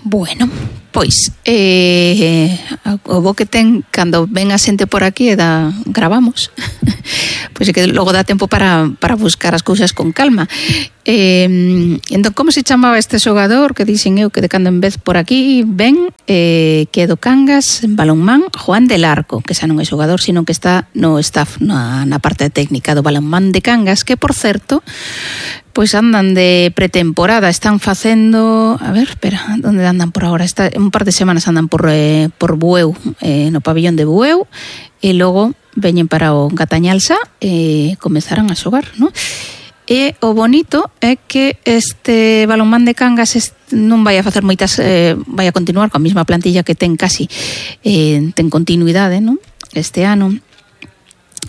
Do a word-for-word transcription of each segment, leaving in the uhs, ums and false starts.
Bueno, pois eh, o bo que ten cando ven a xente por aquí e da, gravamos pois é que logo dá tempo para, para buscar as cousas con calma. eh, entón, como se chamaba este xogador que dixen eu que de cando en vez por aquí ven, eh, que é do Cangas en balonmán? Juan del Arco, que xa non é xogador, sino que está no staff, na, na parte técnica do balonmán de Cangas, que por certo pois andan de pretemporada, están facendo, a ver, espera, onde andan por agora? Está, un par de semanas andan por eh, por Bueu, eh, no pabillón de Bueu, e logo veñen para o Gatañalsa e comezarán a xogar, non? E o bonito é que este balonmán de Cangas est, non vai a facer moitas, eh, vai a continuar coa mesma plantilla que ten casi, eh, ten continuidade, non? Este ano,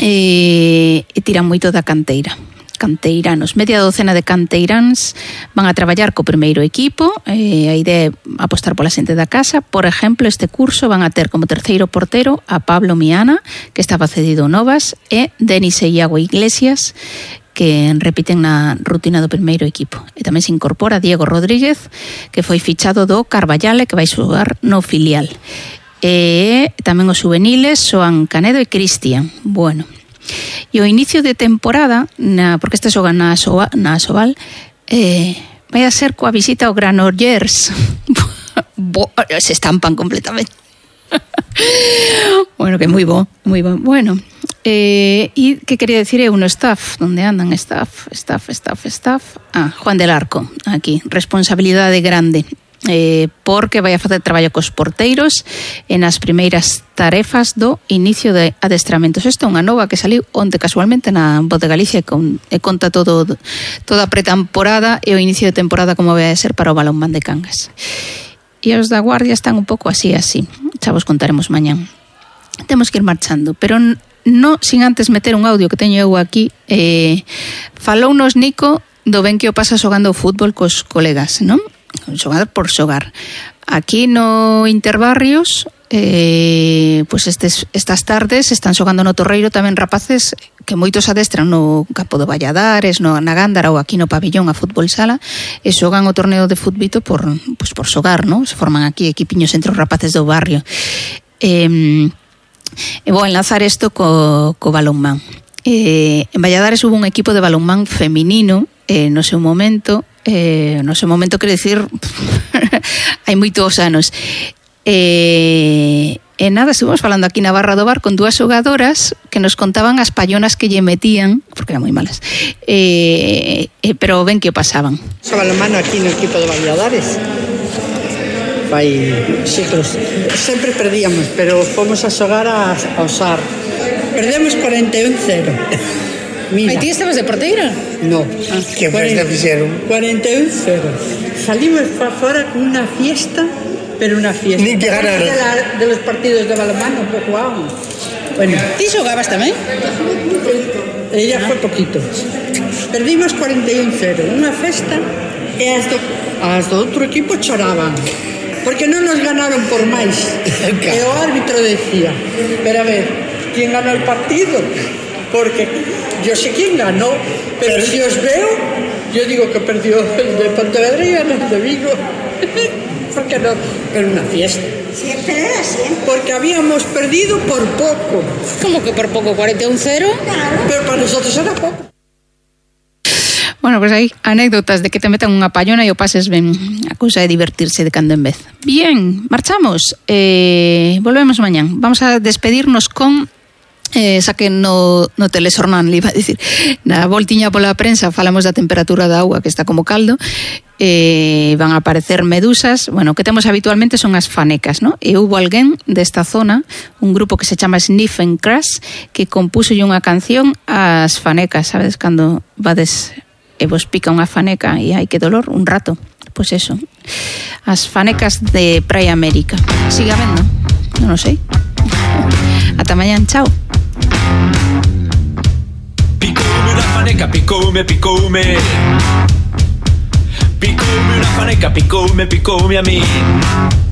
e, e tiran moito da canteira. Canteiranos, media docena de canteiráns van a traballar co primeiro equipo, eh, a idea é apostar pola xente da casa. Por exemplo, este curso van a ter como terceiro portero a Pablo Miana, que estaba cedido Novas, e Denis e Iago Iglesias, que repiten na rutina do primeiro equipo. E tamén se incorpora Diego Rodríguez, que foi fichado do Carballale, que vai xogar no filial. E tamén os juveniles Xoan Canedo e Cristian. Bueno, e o inicio de temporada, na, porque este xoga na, Soa, na Asobal, eh, vai a ser coa visita ao Granollers. Se estampan completamente. Bueno, que moi bo, moi bo. Bueno, eh, e que quería decir eu no staff, onde andan staff, staff, staff, staff. Ah, Juan del Arco, aquí, responsabilidade grande. Eh, porque vai a facer traballo cos porteiros e nas primeiras tarefas do inicio de adestramentos. Esta é unha nova que saliu onte casualmente na Voz de Galicia e, con, e conta todo, toda a pretemporada e o inicio de temporada como vai a ser para o balonmán de Cangas. E os da Guardia están un pouco así, así. Xa vos contaremos mañán. Temos que ir marchando, pero non sin antes meter un audio que teño eu aquí. Eh, falounos Nico do ben que o pasa xogando o fútbol cos colegas, non? Xogar por xogar. Aquí no Interbarrios, eh, pues estes, estas tardes están xogando no Torreiro tamén rapaces que moitos adestran no campo do Valladares, no, na Gándara ou aquí no pabillón a fútbol sala, e xogan o torneo de futbito por, pues por xogar, ¿no? Se forman aquí equipiños entre os rapaces do barrio. Eh, e vou enlazar isto co, co balonmán. Eh, en Valladares hubo un equipo de balonmán feminino eh, no seu momento. Eh, no seu momento, quero dicir, hai moitos anos. E, e nada, estuvimos falando aquí na Barra do Bar con dúas xogadoras que nos contaban as pallonas que lle metían, porque eran moi malas, e, e, pero ben que o pasaban. Xogaba a mano aquí no equipo de Valladares. Fai siglos. Sempre perdíamos, pero fomos a xogar a, a Osar. Perdemos cuarenta e un cero. Mira. Aí ti estabas de porteira? No. Ah, que festa fixeron? cuarenta e un cero. Salimos para fora con unha fiesta, pero unha fiesta. Nin que ganar. De, la, de los partidos de balonmán, un pouco vamos. Bueno. Ti xogabas tamén? Ella foi poquito. Perdimos cuarenta e un cero. Unha festa e as do, as do outro equipo choraban. Porque non nos ganaron por máis. E o árbitro decía, pero a ver, ¿quién ganó el partido? Porque yo sé quién ganó, pero si os veo, yo digo que perdió el de Pontevedra y el de Vigo. Porque no, era una fiesta. Siempre era siempre. Porque habíamos perdido por poco. ¿Cómo que por poco? ¿cuarenta y un cero? Claro. Pero para nosotros era poco. Bueno, pues aí, anécdotas de que te metan unha pallona e o pases ben. A cousa é divertirse de cando en vez. Bien, marchamos. Eh, volvemos mañán. Vamos a despedirnos con... Eh, xa que no, no telexornal le iba a dicir, na voltiña pola prensa falamos da temperatura da auga que está como caldo, eh, van a aparecer medusas. Bueno, o que temos habitualmente son as fanecas, ¿no? E hubo alguén desta zona, un grupo que se chama Sniff and Crash, que compuso unha canción ás fanecas, sabes, cando vades e vos pica unha faneca e hai que dolor un rato, pois pues eso, as fanecas de Praia América. Sigue habendo? Non o sei. Ata mañán, chao. Picoume una faneca, picoume, picoume. Picoume una faneca, picoume, picoume a mí.